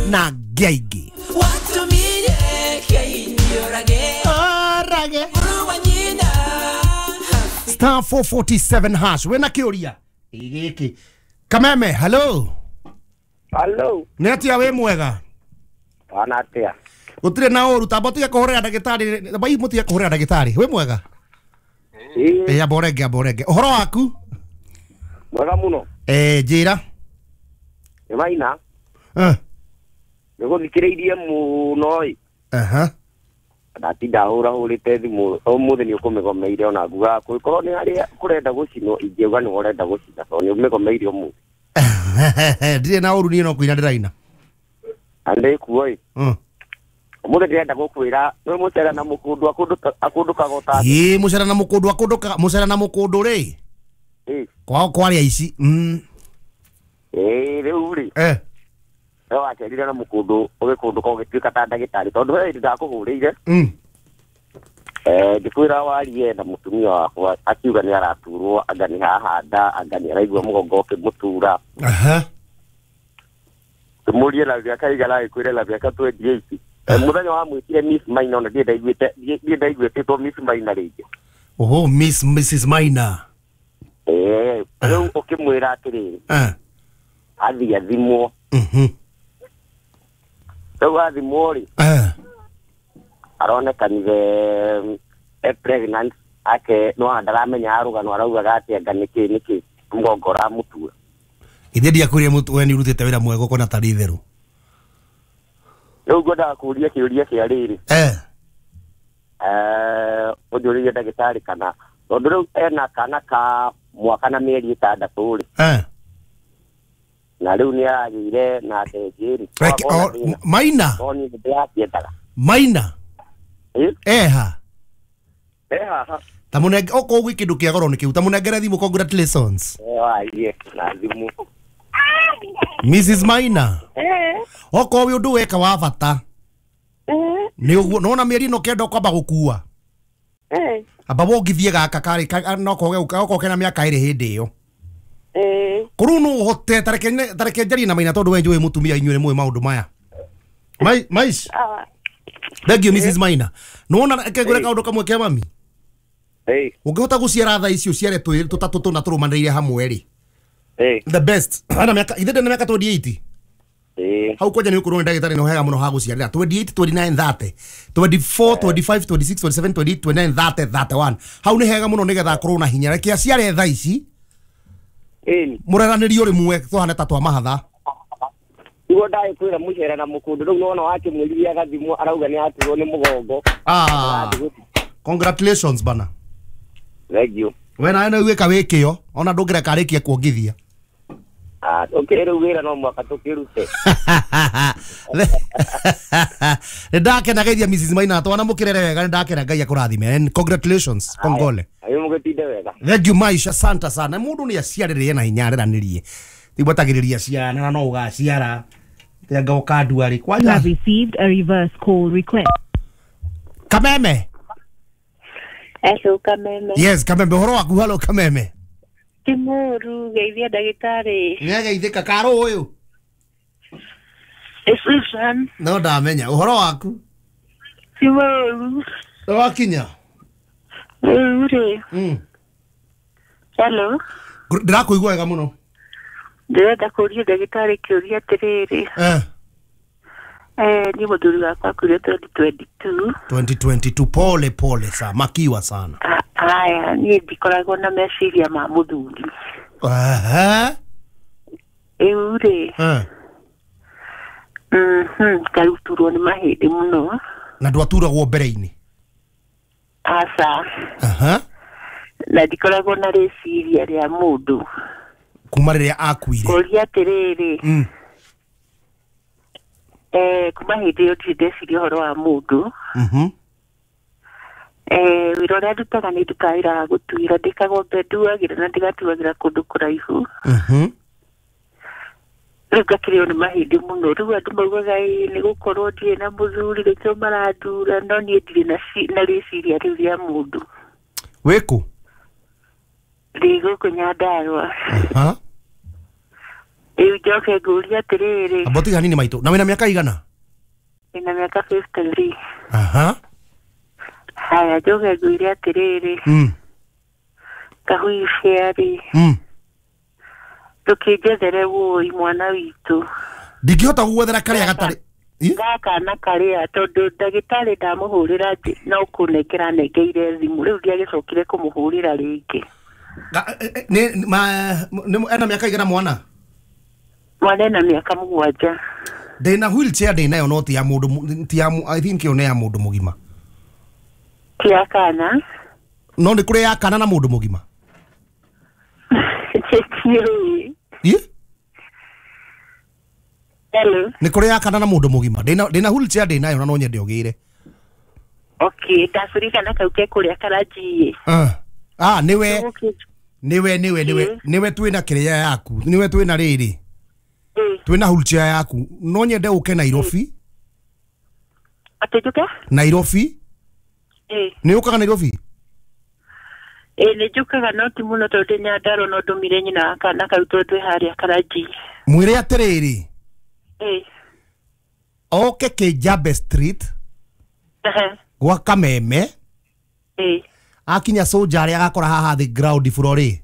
Na ngĩ aingĩ. Orage. *447# wĩna kĩũria gĩkĩ. Kameme, hello. Hello. Nĩ atĩa, wĩ mwega? Wana atia? Gũtirĩ na ũru. Tamba ũtige kũhũrĩra ndagĩtarĩ bai, mũtige kũhũrĩra ndagĩtarĩ. Wĩ mwega? Ĩĩ. Ĩ, amba ũrenge, amba ũrenge. Ũhoro waku? Mwega mũno. Eh, njĩra. Nĩ Maina. Eh. Nĩ gũthikĩrĩirie mũno ĩ. Aha. Ndatinda hũrahũrĩte thimũ ũmũthĩ, nĩ ũkũmĩgomeire ona ngugaga kũngĩkorwo nĩ harĩa kũrenda gũcinwo, ingĩuga nĩ ũrenda gũcina tondũ nĩ ũmĩgomeire ũmũthĩ. Ndirĩ na ũru, niĩ no kũina ndĩraina. Na ndĩkuo ĩ. Ũmũthĩ ndĩrenda gũkwĩra nĩ mũcera na mũkũndũ akũndũkaga ũta. Ĩ, mũcera na mũkũndũ akũndũkaga, mũcera na mũkũndũ rĩ. Ĩ. Kwao kwarĩa ici. Ĩ, rĩu rĩ. Eh. We wacerire na mũkũndũ ũgĩkũndũka ũgĩtuĩka ta ndagĩtarĩ tondũ he hĩndĩ ndakũhũrĩire. Eh, ngĩkwĩra warie na mũtumia wakwa akiuga nĩ araturwo, anga nĩ haha nda, anga nĩ araigua mũgongo ũkĩmũtura. Aha. Ngĩmũrie na mĩaka igana, agĩkwĩre na mĩaka 28. Eh, mũthenya wa mwĩtire Miss Maina, ona ndirĩ ndaiguĩtĩtwo Miss Maina rĩngĩ. Oho, Miss Mrs Maina. Eh, rĩu ũkĩmwĩra atĩrĩrĩ, athiĩ athimwo. Rĩu athimwo rĩ, aronekanire e pregnant ake, no ndaramenya rũgano araugaga atĩ anga nĩkĩ mũgongo ũramũtura. Ithe ndiakwĩrire we nĩ ũrutĩte wĩra mwega ũkona tarĩ itherũ. Rĩu ngwendaga kũũria kĩũria kĩa rĩrĩ. Eh. Eh, ũnjũrĩrie ndagĩtarĩ kana tondũ rĩu ena kana ka mwaka na mĩeri 6 rĩ, Eh. na rĩu nĩ aragĩire na ndenjĩ rĩ. Maina. No niĩ ndĩrakĩendaga. Maina. Ĩ? Eha. E haha. Ta mũnenge okorwo gwĩ kĩndũ kĩa goro nĩ kĩu, ta mũnengere thimũ. Congratulations. E warie na thimũ. Mrs Maina. Eh. Okorwo wĩ ũndũ weka wa bata Eh. nĩ ũguo nona mĩeri ĩno 9 ũkwamba gũkua. Eh. Amba wongithie gaka karĩ no koge okorwo kena mĩaka 2 hĩndĩ ĩyo. Eh. Kũrĩu no ũhote tareke njarie na Maina tondũ we njũĩ mũtumia, inyuĩ nĩ mũĩ maũndũ maya. Mais. Awa. Thank you, Mrs Maina. Nĩwona, reke ngwĩre kaũndũ kamwe ke mami. Ĩ. Ũngĩhota gũciara thaa ici, ũciare twĩrĩ tũtatũ tũna tũrũmanĩrĩire hamwe rĩ, Ĩ. the best. Ana mĩaka ithe ndĩ na mĩaka 28. Ĩ. Hau kwanja nĩ ũkũrwo nĩ ndagĩtarĩ nĩ hega mũno ha gũciarĩra 28, 29, 30, 24, 25, 26, 27, 28, 29, 30, 31. Hau nĩ hega mũno nĩgetha akorwo na hinya. Reke aciare thaa ici. Ĩ. Mũreranĩrio rĩmwe tũhane ta twa mahatha. Niguo ndagĩkwĩra mũcere na mũkũndũ rĩu nona wakĩmwĩririe agathimwo arauga nĩ aturwo nĩ mũgongo. Ah, congratulations bana. Thank you. We nawe nĩ wĩka wĩ kĩo ona ndũngĩreka arĩkie kuongithia. Ah, ũkĩrĩ rĩu wĩra no mwaka tũkĩrute. Nĩ ndakena geithia Mrs Maina twana mũkĩrere wega. Nĩ ndakena, Ngai akũrathime, and congratulations, kongole. Ayo, mũgĩtinde wega. Thank you, Maisha, santa sana. Mũndũ nĩ aciarĩrĩe na hinya areranĩrie tigwetagĩrĩria ciana na no ũgaciara tenga ũkandua rĩ. You Kwanja. have received a reverse call request. Kameme. Hello, Kameme. Yes, Kameme, ũhoro waku? Halo, Kameme. Ti mũru, geithia ndagĩtarĩ. Nĩageithĩka karũ ũyũ. Nĩ Susan. No ndamenya. Ũhoro waku? Ti mũru. Nĩ wakinya? Rĩu rĩ. Hello. Ndĩrakũigua wega mũno. Ndĩrenda kũũria ndagĩtarĩ kĩũria atĩrĩrĩ. Eh. Eh, niĩ mũthuri wakwa akuire 2022. 2022, pole pole sa makiwa sana. Haya, niĩ ndikoragwo na meciria ma mũthuri. Ehe. Rĩu rĩ, Eh. ngaruturwo nĩ mahĩndĩ mũno. Na ndwaturagwo mbere-inĩ? Aca. Aha. Na ndikoragwo na rĩciria rĩa mũndũ. Kuma rĩrĩa akuire? Kũria atĩrĩrĩ, eh, kuma hĩndĩ ĩyo ndirĩ ndeciria ũhoro wa mũndũ. Eh, wĩra ũrĩa ndutaga nĩ ndutaga wĩra wa gũtuĩra, ndĩkagwo nduagĩra na ndigatuagĩra kũndũ kũraihu. Rĩu ngakĩrĩo nĩ mahĩndĩ mũno. Rĩu andũ maugaga ĩ nĩ gũkorwo ndirĩ na mũthuri nĩkĩo marandura, no niĩ ndirĩ na rĩciria rĩu rĩa mũndũ. Wĩkũ? Ndĩ gũkũ Nyandarũa. Aha. Rĩu njoke ngũrie atĩrĩrĩ, Amba ũtige hanini maitũ. Na wĩna mĩaka igana? Ndĩna mĩaka 53. Aha. Haya, njoke ngwĩre atĩrĩrĩ, kahuicia-rĩ, ndũkĩnjethere wũi mwana witũ. Ndingĩhota gũgwethera karĩa gatarĩ. Ĩ? Gaka na karĩa, tondũ ndagĩtarĩ ndamũhũrĩra no kũnengera anengeire thimũ, rĩu ndiagĩcokire kũmũhũrĩra rĩngĩ. Ena mĩaka igana mwana? Mwana ena mĩaka 7. Ndĩna wheelchair ndĩnayo no ti ya mũndũ ti ya I think ĩyo nĩ ya mũndũ mũgima. Ti ya kana? No nĩ kũrĩ ya kana na mũndũ mũgima. Ndiũĩ. Ĩ? Hello. Nĩ kũrĩ ya kana na mũndũ mũgima. Ndĩna wheelchair ndĩnayo na no nyende ũgĩre. Okay, ndabũrika na kau ke kũrĩa Karanji. Ah, nĩwe nĩwe nĩwe nĩwe nĩwe twĩna kĩrĩa yaku. Nĩwe twĩna rĩrĩ. Twĩna wheelchair yaku. No nyende ũke Nairobi. Atĩ njũke? Nairobi. Nĩ ũkaga Nairobi? Ĩ, nĩ njũkaga no ti mũno tondũ ndĩ Nyandarua no ndũmire nyina wa kana kau tondũ twĩ harĩa Karanji. Mwĩre atĩrĩrĩ. Oke Kijabe Street. Gwa Kameme. Akinya Soja arĩa agakora haha thĩ ground floor rĩ.